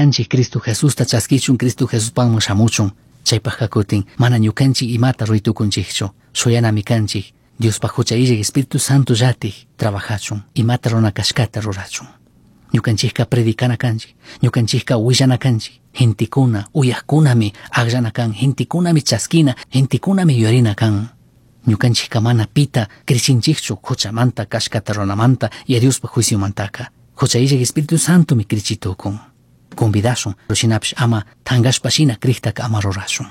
Kanchik Cristo Jesusta chaskichun, Cristo Jesuspaqman shamuchun. Chaypaqqa kutin mana ñukanchik imata ruraytukunchikchu. Shuyanami kanchik Diospaj hucha illaj Espíritu Santo llatik trabajachun, imata runa kashkata rurachun. Ñukanchikka predicana kanchik, ñukanchikka willana kanchik. Gentekuna, uyajkunami akllana kan, gentekunami chaskina, gentekunami yuyarina kan. Ñukanchikka mana pita crichinchikchu huchamanta, kashkata runamanta y a Diospaj juiciomantaka. Hucha illaj Espíritu Santomi crichitukun. Convidashun, shinapish ama tangashpa shina criktaka ama rurashun.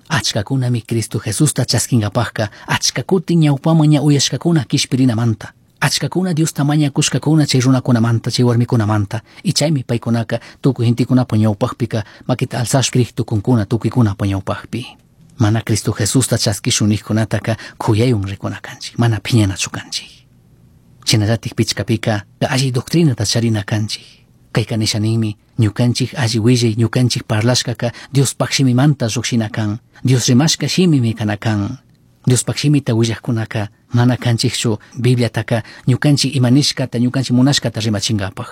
Achkakunami Cristo Jesusta chaskinkapajka achka kutin ñawpaman ña uyashkakuna kishpirinamanta. Achkakuna Diosta mañakushkakuna chay runakunamanta, chay warmikunamanta. Y chaymi paykunaka tukuy gentekunapa ñawpaqpika makita alzashpa crij tukunkuna tukuykunapa ñawpaqpi. Mana Cristo Jesusta chaskishun nijkunataka kuyaywan rikuna kanchik, mana phiñanachu kanchik. Shinallatik pichkapika alli doctrinata charina kanchik. Kayka nisha ninmi, ñukanchik alli willay, ñukanchik parlashkaka Diospaj shimimanta llukshina kan, Dios rimashka shimimi kana kan. Diospaj shimita willajkunaka mana kanchikchu Bibliataka ñukanchik ima nishkata, ñukanchik munashkata rimachinkapaj.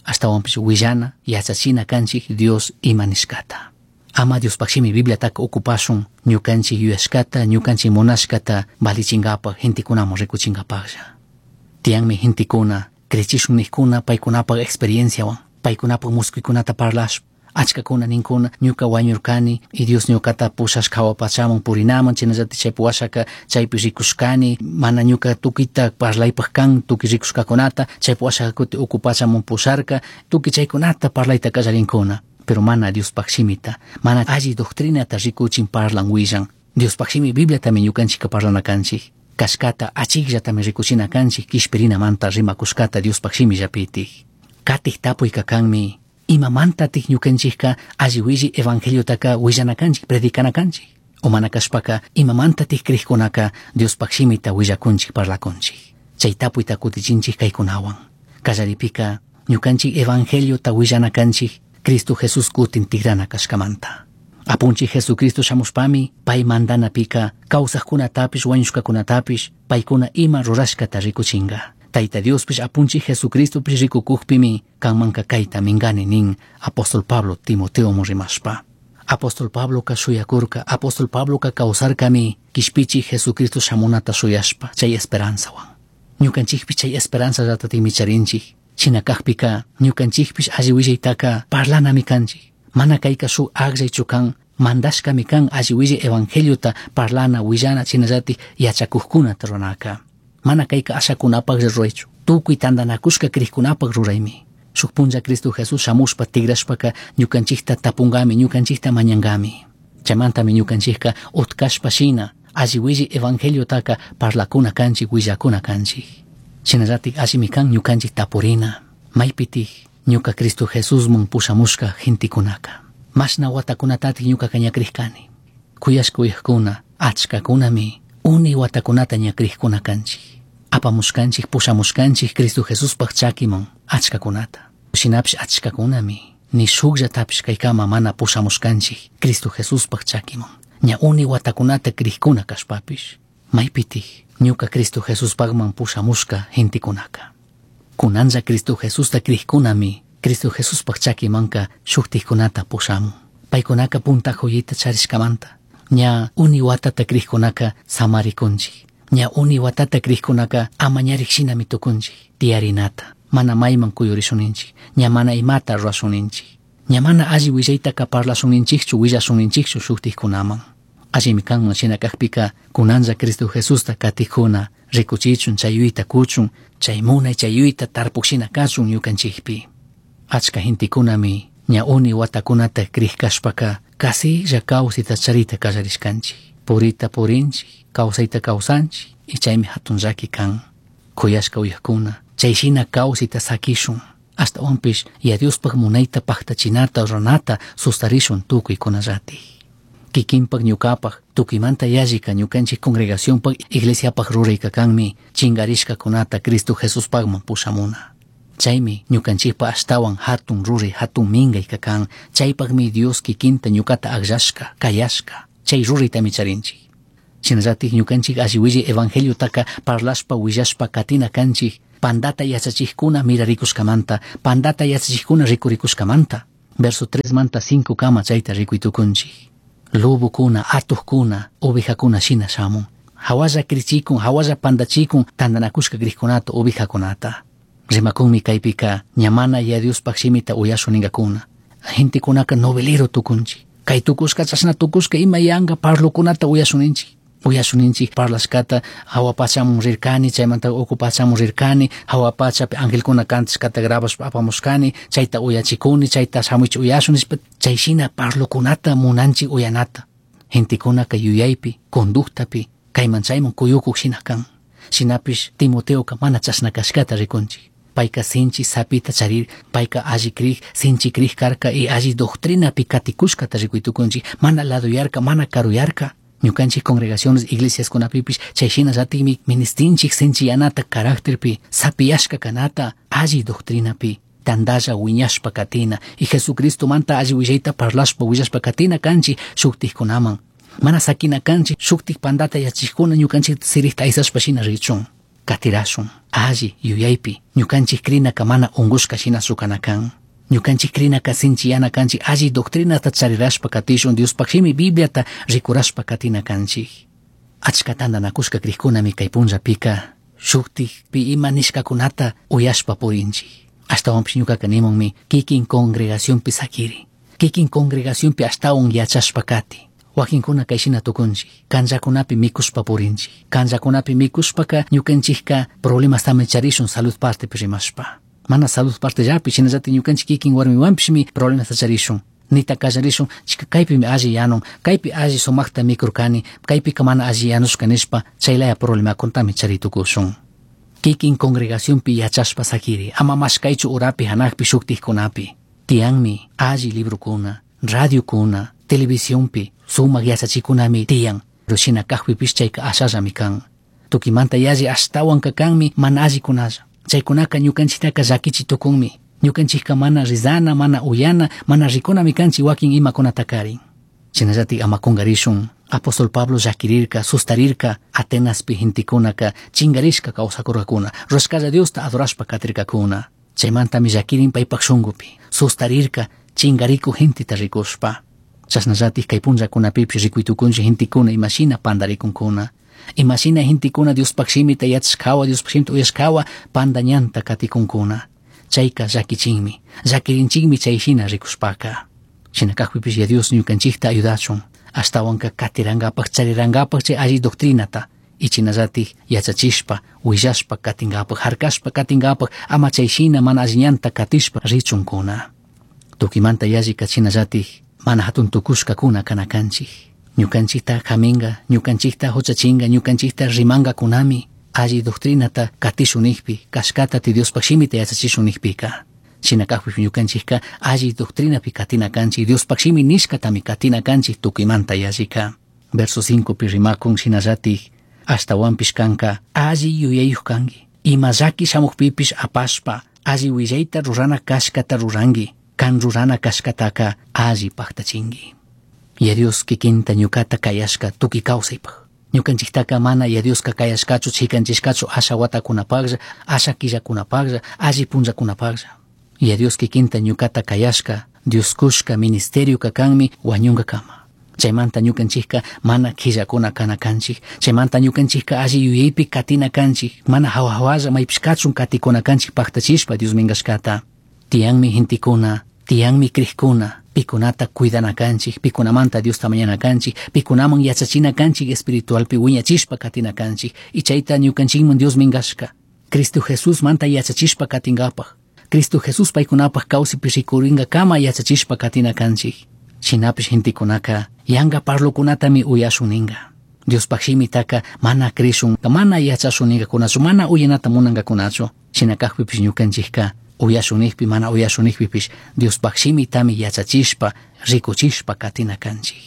Ashtawanpish willana, yachachina kanchik Dios ima nishkata. Ama Diospaj shimi Bibliataka ocupashun ñukanchik yuyashkata, ñukanchik munashkata valichinkapaj, gentekunaman rikuchinkapajlla. Tiyanmi gentekuna, crechishun nijkuna paykunapaj experienciawan, paykunapaj muskuykunata parlashpa, achkakuna ninkuna ñuka wañurkani y Dios ñukata pushashka jawa pachaman purinaman, chaynallatik chaypi washaka chaypi rikushkani, mana ñuka tukuyta parlaypaj kan, tukuy rikushkakunata, chaypi washaka kuti uku pachaman pusharka, tukuy chaykunata parlayta kallarinkuna. Pero mana Diospaj shimita, mana alli doctrinata rikuchin parlan willan. Diospaj shimi Bibliatami ñukanchikka parlana kanchik. Kashkata achikllatami rikuchina kanchik kishpirinamanta rimakushkata Diospaj shimillapitik. Katik tapuyka kanmi, imamantatik ñukanchikka alli willi evangeliotaka willana kanchik, predicana kanchik. O mana kashpaka imamantatik crijkunaka Diospaj shimita willakunchik parlakunchik. Chay tapuyta kutichinchik kaykunawan. Kallaripika ñukanchik evangeliota willana kanchik Cristo Jesús kutin tigrana kashkamanta. Apunchik Jesucristo shamushpami pay mandanapika kawsajkunatapish wañushkakunatapish paykuna ima rurashkata rikuchinga. Tayta Diospish apunchik Jesucristopish rikukukpimi kanmanka kayta mingani nin apóstol Pablo Timoteoman rimashpa. Apóstol Pabloka shuyakurka, apóstol Pabloka kawsarkami kishpichik Jesucristo shamunata shuyashpa chay esperanzawan. Ñukanchikpish chay esperanzallatatikmi charinchik. Shina kakpika ñukanchikpish alli willaytaka parlanami kanchik. Mana kayka shuk akllaychu kan, mandashkami kan alli willay evangeliota parlana, willana, shinallatik yachakukkunata ruranaka. Mana kayka ashakunapaklla ruraychu, tukuy tantanakushka crijkunapak ruraymi. Shuk punlla Cristo Jesús shamushpa tigrashpaka ñukanchikta tapunkami, ñukanchikta mañankami. Chaymantami ñukanchikka utkashpa shina alli willay evangeliotaka parlakuna kanchik, willakuna kanchik. Shinallatik allimi kan ñukanchik tapurina, maypitik ñuka Cristo Jesusman pushamushka gentekunaka. Mashna watakunatatik ñukaka ñakrishkani. Kuyashka uyajkuna, achkakunami uni watakunata ñakrishkuna kanchik. Apamushkanchik, pushamushkanchik Cristo Jesuspaj chakiman achkakunata. Shinapish achkakunami ni shukllatapish kaykama mana pushamushkanchik Cristo Jesuspaj chakiman. Ña uni watakunata krishkuna kashpapish. Maypitik ñuka Cristo Jesuspajman pushamushka gentekunaka. Kunanlla Cristo Jesusta krishkunami Cristo Jesuspaj chakimanka shuktikkunata pushamun. Paykunaka punta joyita charishkamanta. Ña uni watata krishkunaka samarikunchik. Ña uni watata krishkunaka amañarik shinami tukunchik. Tiyarinata. Mana mayman kuyurishuninchik. Ña mana imata rurashuninchik. Ña mana alli willaytaka parlashunninchikchu, willashunninchikchu shuktikkunaman. Allimi kanman shina kakpika kunanlla Cristo Jesusta katikuna rikuchichun chay yuyta kuchun, chay munay chay yuyta tarpuk shina kachun ñukanchikpi. Achka gentekunami ña uni watakunata krishkashpaka kasilla kawsayta charita kallarishkanchik. Purita purinchik, kawsayta kawsanchik, y chaymi hatun llaki kan. Kuyashka uyajkuna, chay shina kawsayta sakishun. Ashtawanpish ya Diospaj munayta paktachinata ruranata sustarishun tukuykunallatik. Kikinpak ñukapak tukuymanta yallika ñukanchik congregacionpak iglesiapak rurayka kanmi chingarishkakunata Cristo Jesuspakman pushamuna. Chaymi ñukanchikpa ashtawan hatun ruray hatun minkayka kan, chaypakmi Dios kikinta ñukata akllashka, kayashka, chay ruraytami charinchik. Shinallatik ñukanchik alli willay evangeliotaka parlashpa willashpa katina kanchik, pandata yachachikkuna mirarikushkamanta, pandata yachachikkuna rikurikushkamanta. Verso 3 manta 5 kama chayta rikuytukunchik. Lobokuna, atuqkuna, ovejakuna shina shamun. Hawalla krichikun, hawalla pandachikun, tantanakushka kriqkunata, ovejakunata. Rimakunmi kaypika ña mana ya Diospaj shimita uyashun ningakuna. Gentekunaka novelero tukunchik. Kay tukushka chashna tukushka ima yanka parlokunata uyashun ninchik. Uyashun ninchik parlashkata hawa pachamun rirkani, chaymanta uku pachamun rirkani, hawa pachapi angelkuna kantashkata grabashpa apamushkani, chayta uyachikuni, chayta shamuych uyashun nishpa, chay shina parlokunata munanchik uyanata. Gentekunaka yuyaypi, conductapi, kayman chayman kuyukuk shina kan. Shinapish Timoteoka mana chashna kashkata rikunchik. Payka sinchi sapita charir, payka alli krik, sinchi krik karka y alli doctrinapi katikushkata rikuytukunchik, mana laduyarka, mana karuyarka. Ñukanchik congregaciones, iglesiaskunapipish chay shinallatikmi ministinchik sinchiyanata carácterpi, sapiyashka kanata, alli doctrinapi, tandalla wiñashpa katina, y Jesucristo manta alli willayta parlashpa willashpa katina kanchik shuktikkunaman. Mana sakina kanchik shuktik pandata yachikuna ñukanchik sirikta aysashpa shina richun. Katirashun, alli yuyaypi, ñukanchik krinaka mana unkushka shina sukana kan. Ñukanchik krinaka sinchiyana kanchik, alli doctrinata charirashpa katishun, Diospaj shimi Bibliata rikurashpa katina kanchik. Achka tantanakushka krikkunami kay punllapika shuktikpi ima nishkakunata uyashpa purinchik. Ashtawanpish ñukaka nimunmi kikin congregacionpi sakiri. Kikin congregacionpi ashtawan yachashpa kati. Wakinkuna kay shina tukunchik, kanllakunapi mikushpa purinchik. Kanllakunapi mikushpaka ñukanchikka problemastami charishun salud partepi rimashpa. Mana salud partellapi, shinallatik ñukanchik kikin warmiwanpishmi problemasta charishun. Nita kallarishun, chika kaypimi alli yanun, kaypi alli sumakta mikurkani, kaypika mana alli yanushka nishpa, chaylaya problemakuntami charitukushun. Kikin congregacionpi yachashpa sakiri, ama mashkaychu urapi hanakpi shuktikkunapi. Tiyanmi alli librokuna, radiokuna, televisionpi, sumak yachachikunami tiyan. Pero shina kajpipish chayka ashallami kan. Tukimanta yalli ashtawanka kanmi mana allikunalla. Chaykunaka ñukanchiktaka llakichi tukunmi. Ñukanchikka mana rizana, mana uyana, mana rikunami kanchik wakin imakunatakarin. Shinallatik ama kungarishun. Apóstol Pablo llakirirka, sustarirka, Atenaspi gentekunaka chingarishka kawsakurkakuna, rurashkalla Diosta adorashpa katirkakuna. Chaymantami llakirin paypak shunkupi, sustarirka, chingariku genteta rikushpa. Chashnallatik kay punllakunapipish rikuytukunchik gentekuna imashina pandarikunkuna. Imashina gentekuna Diospaj shimita yachashkawa, Diospaj shimita uyashkawa, panda ñanta katikunkuna. Chayka llakichinmi, llakirinchikmi chay shina rikushpaka. Shina kajpipish ya Dios ñukanchikta ayudachun. Ashtawanka katirankapak, charirankapak chay alli doctrinata. Y chinallatik yachachishpa, willashpa katinkapak, harkashpa katinkapak, ama chay shina mana alli ñanta katishpa richunkuna. Tukimanta yallika chinallatik mana hatun tukushkakuna kana kanchik. Ñukanchikta haminga, ñukanchikta huchachinga, ñukanchikta rimangakunami alli doctrinata katishun nijpi, kashkata ti Diospaj shimita yachachishun nijpika. Shina kajpish ñukanchikka alli doctrinapi katina kanchik, Diospaj shimi nishkatami katina kanchik tukimanta yallika. Verso 5 pi rimakun shinallatik, ashtawanpish kanka alli yuyayuj kanki. Ima llaki shamukpipish apashpa, alli willayta rurana kashkata ruranki, kan rurana kashkataka alli paktachinki. Ya Dios kikinta ñukata kayashka tukuy kawsaypaj. Ñukanchiktaka mana ya Dioska kayashkachu chikanchishkachu asha watakunapaklla, asha killakunapaklla, alli punllakunapaklla. Ya Dios kikinta ñukata kayashka, Dios kushka ministerioka kanmi wañunkakama. Chaymanta ñukanchikka mana killakuna kana kanchik. Chaymanta ñukanchikka alli yuyaypi katina kanchik. Mana hawa hawalla maypish kachun katikuna kanchik paktachishpa Dios minkashkata. Tiyanmi gentekuna, tiyanmi krikuna, pikunata cuidana kanchik, pikunamanta Diosta mañana kanchik, pikunaman yachachina kanchik espiritualpi wiñachishpa katina kanchik, y chayta ñukanchikman Dios minkashka. Cristo Jesús manta yachachishpa katingapaj. Cristo Jesús paykunapaj kawsipi rikuringakama yachachishpa katina kanchik. Shinapish gentekunaka yanka parlokunatami uyashun ninka. Diospaj shimitaka mana krishun, mana yachashun ninkakunachu, mana uyanata munankakunachu. Shina kajpipish ñukanchikka uyashun nijpi, mana uyashun nijpipish Diospaj shimitami yachachishpa, rikuchishpa katina kanchik.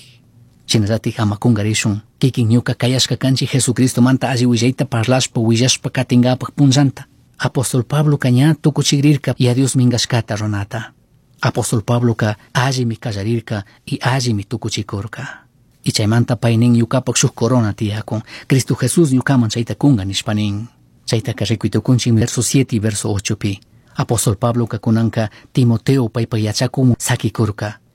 Shinallatik ama kungarishun, kikin ñuka kayashka kanchik Jesucristo manta alli willayta parlashpa, willashpa katingapaj punllanta. Apóstol Pabloka ña tukuchikrirka ya Dios minkashkata runata. Apóstol Pabloka allimi kallarirka y allimi tukuchikurka. Y chaymanta pay nin ñukapak shuk corona tiyakun. Cristo Jesús ñukaman chayta kunga nishpa nin. Chaytaka rikuytukunchik verso 7 y verso 8 pi. Apóstol Pabloca cunanca Timoteo paipa yachacumun saquicurca.